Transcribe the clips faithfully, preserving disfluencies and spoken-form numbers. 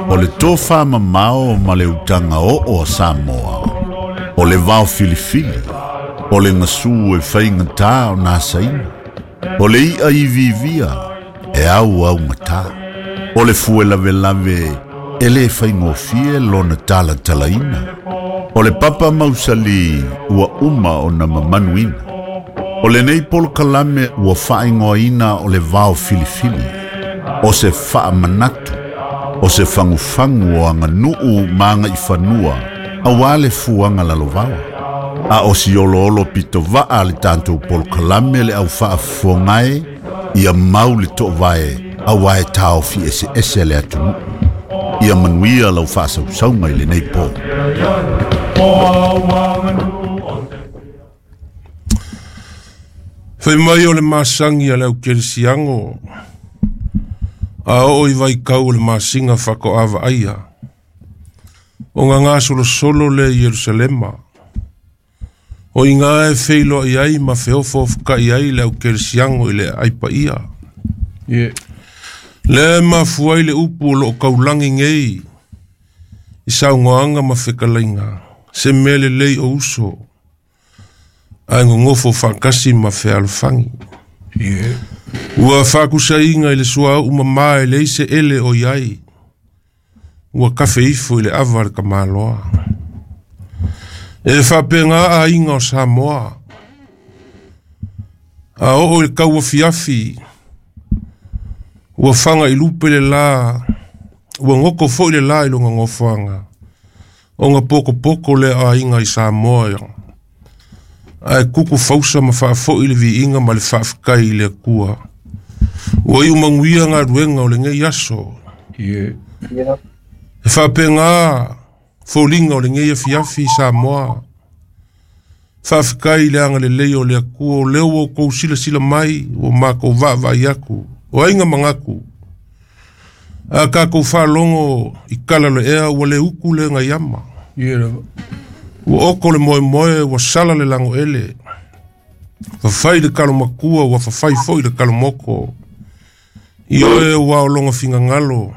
O le tofa mamao ma le utaga oo a Samoa, o le vao filifili, o le gasu e faigatā ona asaina, o le i'a iviivia e auaugatā, o le fue lavelave e lē faigofie lona talatalaina, o le papa mausali ua uma ona mamanuina. O lenei polokalame ua faaigoaina o le vao filifili, o se faamanatu, o se fagufagu o aganuu ma agaifanua auā le fuaga lalovaoa. A o si oloolo pitovaa le tatou polokalame le au faafofogae ia mau le toovae auā e taofi eseese le atunuu. Ia manuia lau faasausauga i lenei po. Fai mai o le masagi a le aukelesiago a oo i vaikau o le masiga faatoa o gagasolosolo lea i Ierusalema. O iga e feiloai ai ma feofaofokaʻi ai le aukelesiago i le aai paia. Yeah. Lea e mafua ai le upu o loo kaulagi nei i saugoaga ma fekalaiga, se mea lelei o uso ae gogofo faakasi ma fealofagi. Yeah. Ua faakusaiga i le suauu mamā e leai se ele o iai, ua kafe ifo i le ava le kamaloa. E faapega aiga o Samoa, a oo i le kauafiafi, ua faga i lupe le lā, ua goko foi le lā i loga gofoaga, ona pokopoko lea aiga i Samoa, ae kuku fausa ma faafoʻi le viiga ma le faafetai i le Atua. Ua iu manuia galuega o lenei aso. Yeah. Yeah. E faapega foliga o lenei afiafi i Samoa. Faafetai i le agalelei o le Atua, o lea ua outou silasila mai, ua matou vaavaai atu, o aiga manatu. A tatou faalogo i kala le ea, ua le utu le gaiama. Yeah lava. Ua oko le moemoe, ua sala le lagoele. Fafai le kalomakua, ua fafai foi le kalomoko. I oe ua o loga figagalo,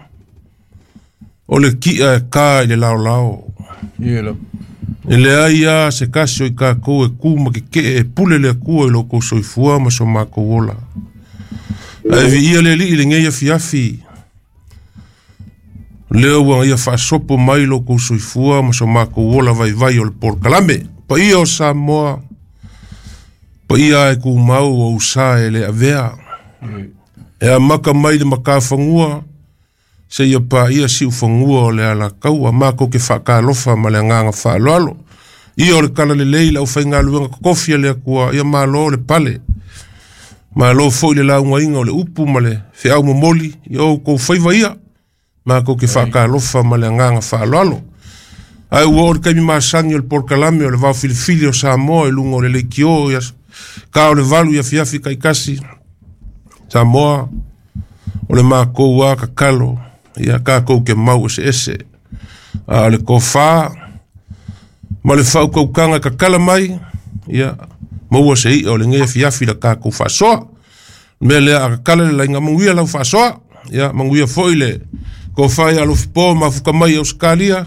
o le ki'a e kā i le laolao. Yeah lava. E leai a se kasi o i kākou e kū ma kekeʻe e pule le Atua i lo kou soifua ma so makou ola. Ae viia le Alii i lenei afiafi, lea ua ia faasopo mai lo kou soifua ma so makou ola vaivai o le polokalame. Paia o Samoa, paia e kumau o usa e le avea. E amaka mai le makafanua, se ia paia siufagua o le alakaua, makou ke faakalofa ma le agaga faaaloalo. Ia o le talalelei le aufaigaluega totofi a le Atua, ia malo le pale. Malo foi le laugaina o le upu ma le feau momoli, ia outou faiva ia, makou ke faakalofa ma le agaga faaaloalo. Ae ua oo le taimi masagi o le polokalame o le vao filifili o Samoa i luga o le leitio ia ka o le valu i afiafi kaikasi. Samoa, o le makou a kakalo, ia kakou ke mau eseese. A o le kofā ma le faaukaukanga e kakala mai, ia maua se i'a o lenei afiafi la kakou faasoa. Mea lea a kakala le laiga manuia lau faasoa, ia manuia foi le kofā ia alofipo mafuka mai i Ausekalia,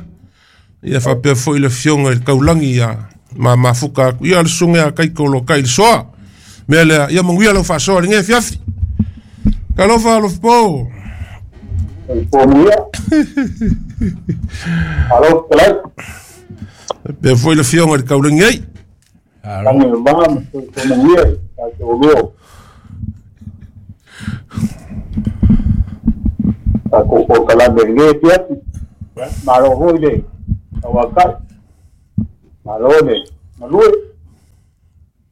ia faapea foi le afioga i le kaulagi ia ma mafuka atu, ia le susuga ia Kaiko o lo kai le soa. Mea lea, ia manuia lau faasoa i lenei afiafi. Talofa alofipo. Manuia. Alo, pelai. Faapea foi le afioga i le kaulagi ai. Alo. Lagi le ma, ma soifua manuia, tatou lua. Tatou polokalame i lenei afiafi. Malo foi le tauakai. Malo le galue.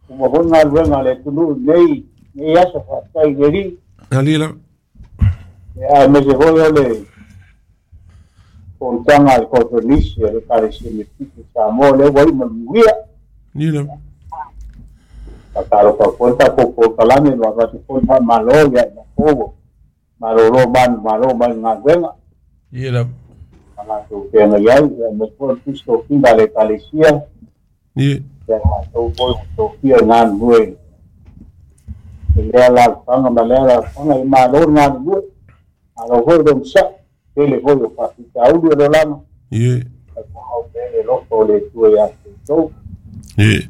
Uma foi galuega a le atunuu i lenei lenei aso, faafetai i le Alii. Ali la. Ia, aemaise foi o le fonotaga a le Koneferenisi a le Ekalesia Metotisi o Samoa, lea ua iu ma le manuia. Ni la. Faatalofa foi le tatou polokalame, ma avatu foi le faamalo ia i latou ua malolo manumalo mai le galuega. Yeah lava. Ma latou feagai ai, ia aemaise foi o le Tusi Tofiga a le Ekalesia, Ni. ia latou foi ua tofia e galulue i lea alaalafaga ma lea alaalafaga, ia malo le galulue, malo foi le onosai. Tele foi o faafitauli o le olaga Ie. Ae folau pea le alofa o le Atua iā outou. Ie.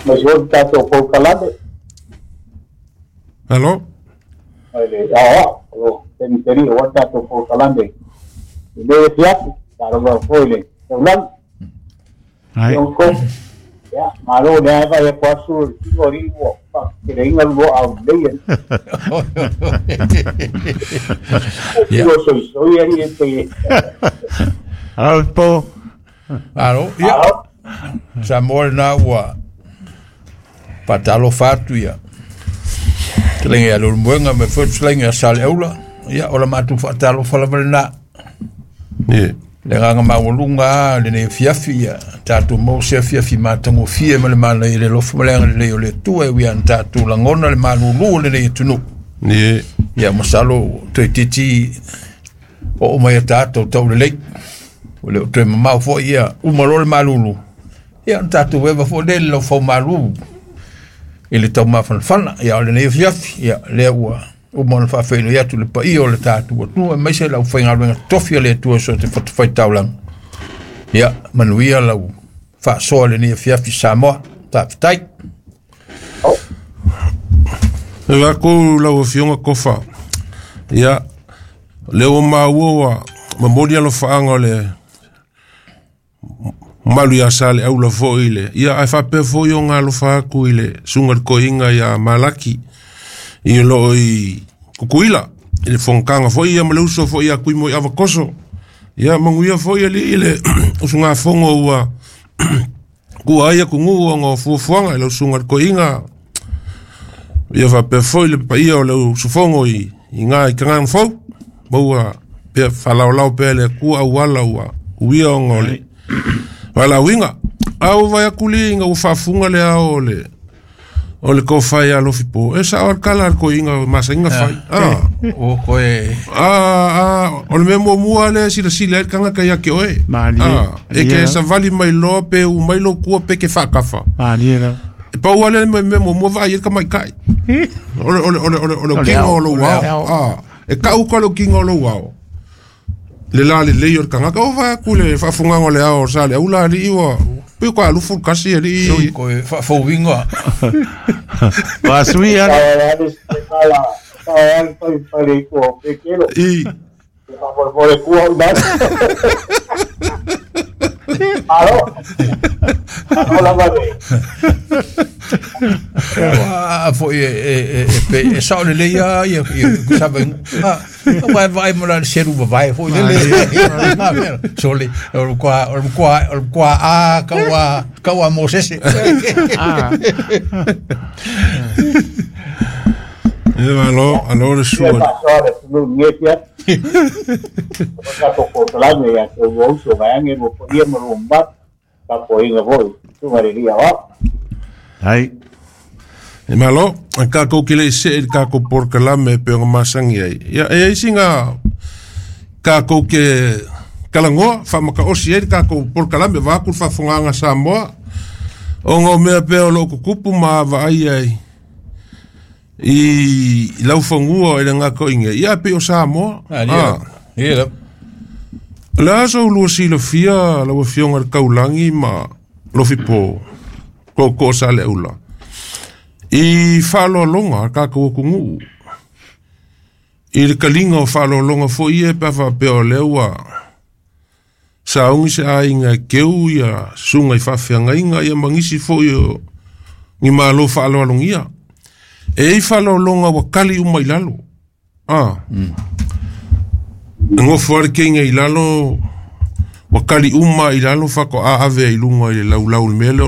Ma se foi tatou polokalame. Alo. Mai le aoao o lo teniteni o tatou polokalame i le afiafi taalofa foi le taulagi. Ai. Ia, malo le ae vai aku asu o le tino alii ua faafeteleina lua aulelei ai. Ia. Ua soisoi alii e pe. Alo po. Alo, ia. Alo. Samoa lena ua faatalofa atu ia. Fetalaiga ia Leulumoega ma foi le fetalaiga ia Saleaula. Ia, o la matou faatalofa lava lena. Ie. Le agaga maualuga lava lenei afiafi, ia tatou maua se afiafi matagofie ma le manaia i le alofa ma le agalelei o le Atua e ui lava ina tatou lagona le malulu o lenei atunuu. Ie. Ia, masalo toeitiiti oo mai ia tatou taulelei. Ua le o toe mamao foi ia uma loa le malulu. Ia, ona tatou eva foi lea i le laufaumalu i le taumafanafana. Ia, o lenei afiafi, ia, lea ua uma ona faafeiloai atu le paia o le tatou atunuu, aemaise le aufaigaluega tofi a le Atua so o se fatafaitaulaga. Ia, manuia lau faasoa i lenei afiafi Samoa. Faafetai. E vaku lau afioga Kofa. Ia, lea ua maua ua momoli alofaaga o le malu ia Saleaula foi i le ia ae faapea foi ona alofa atu i le susuga i le toeaina ia Malaki i o loo i Tutuila i le fonotaga foi ia ma le uso foi ia Tuimoi Avatoso. Ia manuia foi alii i le usugafono ua tua ai atunuu ona o fuafuaga i lau susuga i le toeaina ia faapea foi le paia o le usufono i i na i Tagana Fou maua pea faalaolao pea e le Atua auala ua uia ona o le valaauina. A ua vaai atu lea ina ua faafuga le ao o le o le tofa ia Alofipo, e sao lava le tala a le toeaina masani ona fai. Ah. O koe. Ah, ah, o le mea muamua lea e silasila ai le tagata ia te oe. Malie. Ah, e ke savali mai loa pe u mai lou tua pe ke faakafa. Malie lava. E pau lava lea le mea muamua vaai ai le tamaitai. O le o le o le o le o le kino o lou ao. Ah, e tau ka le kino o lou ao. Le la lelei o le tagata o vaai atu le faafogaga o le ao o Saleaula alii ua pei ua alufu le kasi alii. Sui koe faafouiga. Vasui ale. Sao ale se kala, sao ale fai fale i kua o Pekelo. I. E faamolemole kua o ina. Malo. Malo lava le. A foi e e e e pe e sao lelei lava ia ia savaiga. Aua e vaai mo la le selu vavae foi lele. Sole, o le matua o le matua o le matua a kaua kaua Mosese. E malo, alo le Ia sua. faasoa le atunuu i lenei afiafi. O tatou polokalame ia te ua uso vaeage lua paia ma lua mamalu. Tapuaiga foi susuga i le Alii Aoao. Ai. E malo, a kākou ke le i see i le kākou polokalame e pei ona masani ai. Ia, e ai sina kākou ke talanoa, faamataosi ai le kākou polokalame, vaeatu le faafofogaaga Samoa, ona o mea pea o loo tutupu ma vaai ai i laufanua i le gatoiga, ia pei o Samoa. Ah, ia lava. O le a sa ulua silafia lau afioga i le taulagi ma Lofipo Tootoo Saleaula i faaaloaloga a tatou atunuu i le taliga o faaaloaloga foi ia pe a faapea o lea ua sauni se aiga e keu ia susuga i faafeagaiga ia ma nisi foi o ni malo faaaloalogia. E i ai faaaloaloga ua tali uma i lalo. Ah. E nofo lava le keiga i lalo ua tali uma i lalo faatoa ave ai i luga i le laulau i le mea lea.